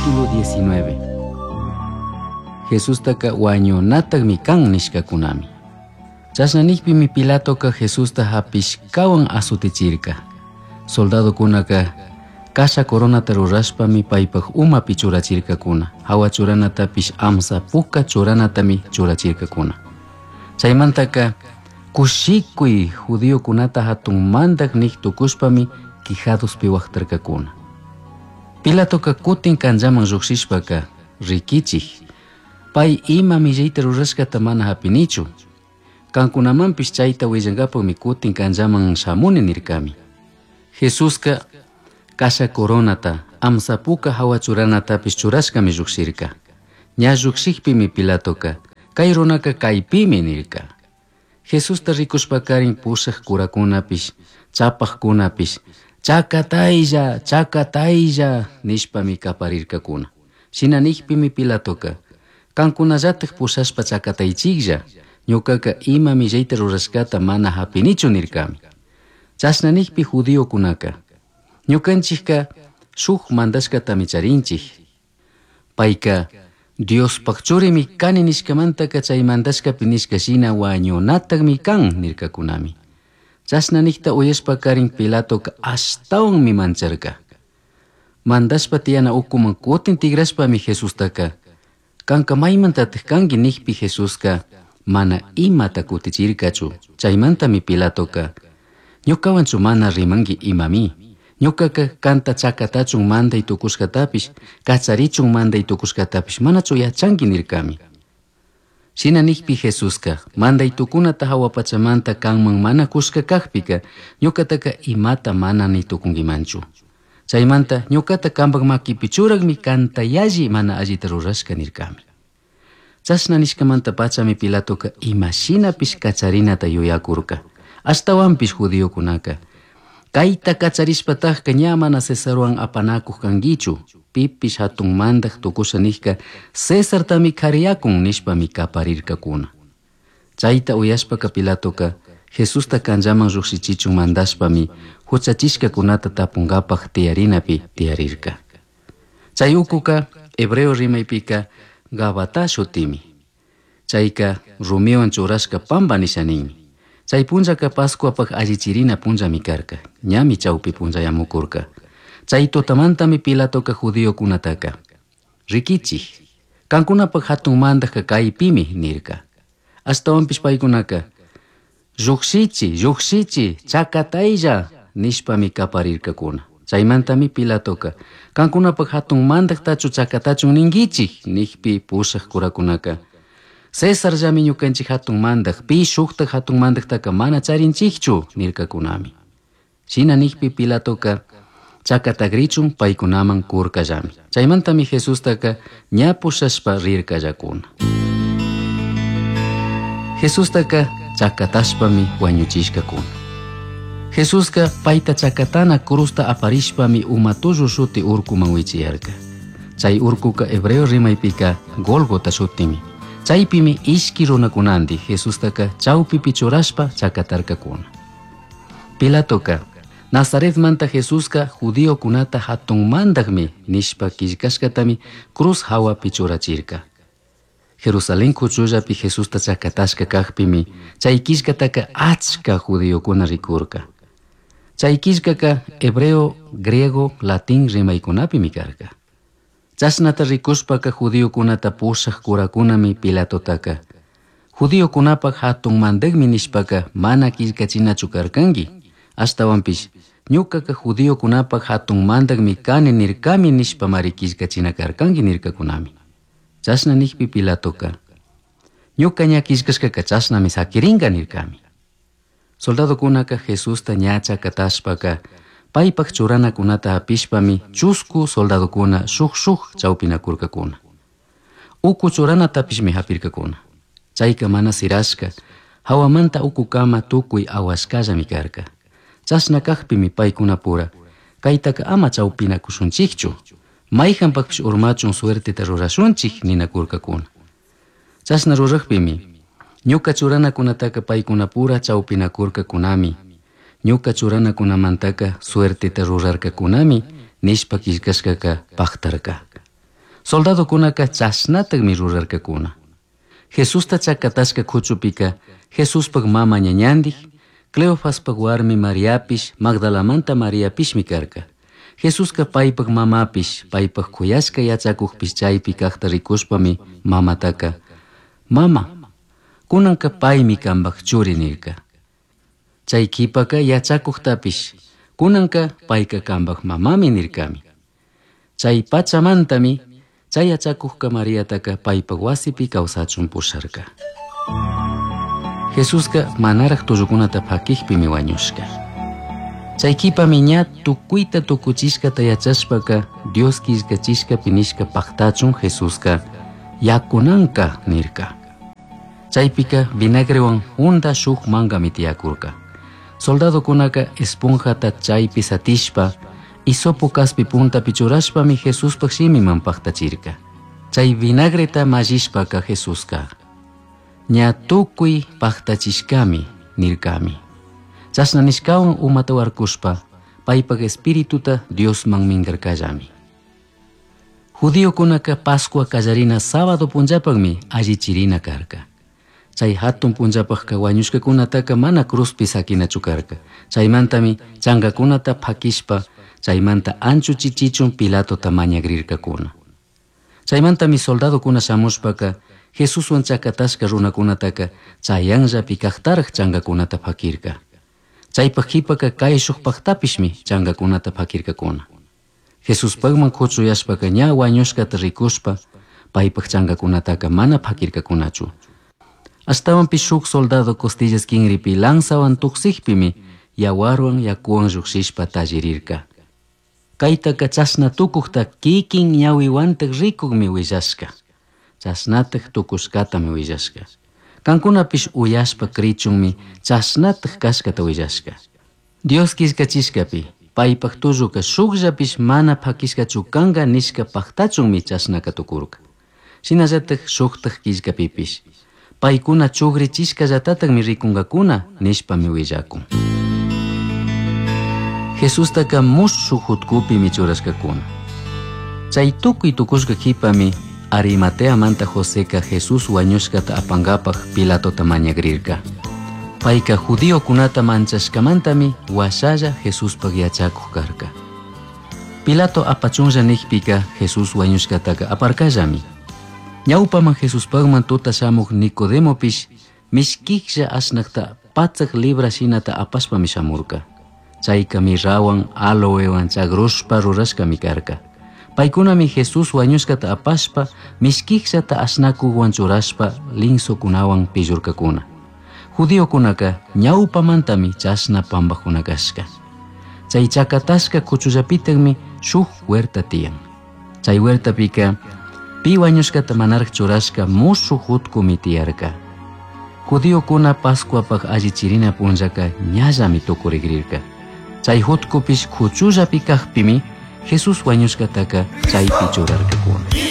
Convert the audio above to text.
Capítulo 19. Jesustaca huañunatajmi can nishcacunami. Chashna nijpimi Pilatoca Jesusta japishcahuan azutichirca. Soldadocunaca kasha coronata rurashpami paipaj umapi churachircacuna. Jahua churanatapish amsa puca churanatami churachircacuna. Chaimantaca kushikuy judiocunata hatun mandaj nij tucushpami quijadospi huajtarcacuna. Pilatoca kutin canllaman llujshishpaca riquichij, pai ima millayta rurashcata mana japinichu. Cancunamanpish chayta huillankapakmi kutin canllaman shamuni nirkami. Jesuska kasha coronata, amsa puka jahua churanatapish churashkami llujshirka. Ña llujshijpimi Pilatoca, kay runaka kaypimi nirka. Jesusta rikushpakarin pushaj curakunapish, chapajkunapish, chakataylla, chakataylla nishpami kaparirkakuna. Shina nijpimi Pilatoca, kankunallataj pushashpa chakataychiklla, ñukaka ima millayta rurashkata mana japinichu nirkami. Chashna nijpi judiokunaka, ñukanchikka shuk mandashkatami charinchik. Payka Diospaj churimi kani nishkamantaka chay mandashkapi nishka shina wañunatakmi kan nirkakunami. Chashna nijta uyashpakarin Pilatoka ashtawanmi mancharka. Mandashpa tiyana ukuman kutin tigrashpami Jesustaka, kanka maymantataj kanki nijpi Jesuska mana imata kutichirkachu. Chaymantami Pilatoka, ñukawanchu mana rimanki imami. Ñukaka kanta chakatachun manday tukushkatapish, kacharichun manday tukushkatapish manachu yachanki nirkami. Shina nijpi Jesuska, manday tukunata jahua pachamanta kanman mana kushka kajpika, ñukataka imata mana ni tukunkimanchu. Chaymanta ñukata kanpak makipi churakmi kanta yalli mana allita rurashka nirkami. Chashna nishkamanta pachami Pilatoka imashinapish kacharinata yuyakurka. Ashtawanpish judiokunaka, kayta kacharishpatajka ña mana Cesarwan apanakuj kankichu, pipish hatun mandaj tukusha nijka Cesartami kariyakun nishpami kaparirkakuna. Chayta uyashpaka Pilatoka Jesusta canllaman llujshichichun mandashpami huchachishkakunata tapunkapaj tiyarinapi tiyarirka. Chay ukuka hebreo rimaypika Gabata shutimi. Chayka rumiwan churashka pampa nisha ninmi. Chay punllaka Pascuapaj allichirina punllami karka, ñami chawpi punllayamukurka. Chay tutamantami Pilatoka judiokunataka, rikichij, kankunapaj hatun mandajka kaypimi nirka. Ashtawanpish paykunaka, llujshichi, llujshichi, chakataylla nishpami kaparirkakuna. Chaymantami Pilatoka, kankunapaj hatun mandajtachu chakatachun ninkichik nijpi pushaj curakunaka, Cesarllami ñukanchik hatun mandaj, pi shuktaj hatun mandajtaka mana charinchikchu nirkakunami. Shina nijpi Pilatoka chakatagrichun paykunaman kurkallami. Chaymantami Jesustaka ña pushashpa rirkallakuna. Jesustaka chakatashpami wañuchishkakuna. Jesuska payta chakatana cruzta aparishpami umatullu shuti urkuman wichiyarka. Chay urkuka hebreo rimaypika Golgota shutimi. Chaypimi ishki runakunandi Jesustaka chawpipi churashpa chakatarkakuna. Pilatoka Nazaretmanta Jesuska judiokunata hatun mandajmi nishpa killkashkatami cruz hawapi churachirka. Jerusalén kuchullapi Jesusta chakatashka kajpimi chay killkataka achka judiokuna rikurka. Chay killkaka hebreo, griego, latín rimaykunapimi karka. Chashnata rikushpaka judiokunata pushaj curakunami Pilatotaka, judiokunapaj hatun mandajmi nishpaka mana killkachinachu karkanki, ashtawanpish ñukaka judiokunapaj hatun mandajmi kani nirkami nishpamari killkachina karkanki nirkakunami. Chashna nijpi Pilatoka, ñuka ña killkashkaka chashnami sakirinka nirkami. Soldadokunaka Jesusta ña chakatashpaka paypaj churanakunata hapishpami chusku soldadokuna shuk shuk chawpinakurkakuna. Uku churanatapishmi hapirkakuna. Chayka mana sirashka, hawamanta ukukama tukuy awashkallami karka. Chashna kajpimi paykunapura, kaytaka ama chawpinakushunchikchu, mayhanpakpish urmachun suerteta rurashunchik ninakurkakuna. Chashna rurajpimi, ñuka churanakunataka paykunapura chawpinakurkakunami, ñuka churanakunamantaka suerteta rurarkakunami nishpa killkashkaka paktarka. Soldadocunaca chashnatajmi rurarcacuna. Jesusta chacatashca cuchupika Jesuspaj mama ñañandij, Cleofaspaj warmi Mariapish, Magdalamanta Mariapishmi carca. Jesusca paipaj mamapish, paipaj cuyashca yachacujpish chaipi cajta ricushpami mamataca, Mama, cunanca paimi cambaj churi nirca. Chai quipaca yachacujtapish, cunanca paica cambaj mamami nircami. Chai pachamantami, chay yachacujca Mariataca paipaj huasipi causachun pusharca. Jesusca manaraj tullucunata paquijpimi huañushca. Chay quipami ña tucuita tucuchishcata yachashpaca Dios quillcachishcapi nishca pactachun Jesusca yacunanca nirca. Chaypica vinagrewan hunda shuk mangami tiyacurca. Soldadocunaca esponjata chaypi satishpa hisopo caspi puntapi churashpami Jesuspaj shimiman pactachirca. Chay vinagreta mallishpaca Jesusca ña tucui pactachishcami nircami. Chashna nishcawan umata warkushpa paypaj espirituta Diosman mingarcallami. Judiocunaca Pascua callarina sábado punllapajmi allichirina carca. Chay hatun punllapajka wañushkakunataka mana cruzpi sakinachu karka. Chaymantami changakunata pakishpa chaymanta anchuchichichun Pilatota mañagrirkakuna. Chaymantami soldadokuna shamushpaka Jesuswan chakatashka runakunataka chayanllapi kajtaraj changakunata pakirka. Chaypaj qhipaka kayshukpajtapishmi changakunata pakirkakuna. Jesuspajman kuchuyashpaka ña wañushkata rikushpa paypaj changakunataka mana pakirkakunachu. Ashtawanpish shuk soldado costillas kinripi lanzawan tuksijpimi yawarwan yakuwan llushishpa tallirirka. Kaytaka chashna tukukta kikin ñawiwantaj rikukmi willashka. Chashnataj tukushkatami willashka. Kankunapish uyashpa crichunmi chashnataj kashkata willashka. Dios quillcachishkapi paypaj tulluka shukllapish mana pakishkachu kanka nishka paktachunmi chashnaka tukurka. Shinallataj shuktaj quillkapipish paykuna chugrichishkallatatami rikunkakuna nishpami willakun. Jesustaka mushuj hutkupimi churashkakuna. Chay tukuy tukushka qhipami Arimateamanta Joseca Jesús wañushkata apankapaj Pilatota mañagrirka. Payka judiokunata manchashkamantami washalla Jesuspaj yachakuj karka. Pilato apachunlla nijpika Jesús wañushkataka aparkallami. Ñawpaman Jesuspajman tuta shamuj Nicodemopish mishkijlla ashnakta patsak libra shinata apashpami shamurka. Chayka mirrawan aloewan chagrushpa rurashkami karka. Paykunami Jesús wañushkata apashpa mishkijllata ashnakuwan churashpa linsokunawan pillurkakuna. Judiokunaka ñawpamantami chashna pampakuna kashka. Chay chakatashka kuchullapitakmi shuk huerta tiyan. Chay huertapika pi wañushkata manaraj churashka mushuj hutkumi tiyarka. Judiokuna Pascuapaj allichirina punllaka ñallami tukurikrirka. Chay hutkupish kuchullapi kajpimi Jesús wañushkataka chaypi churarkakuna.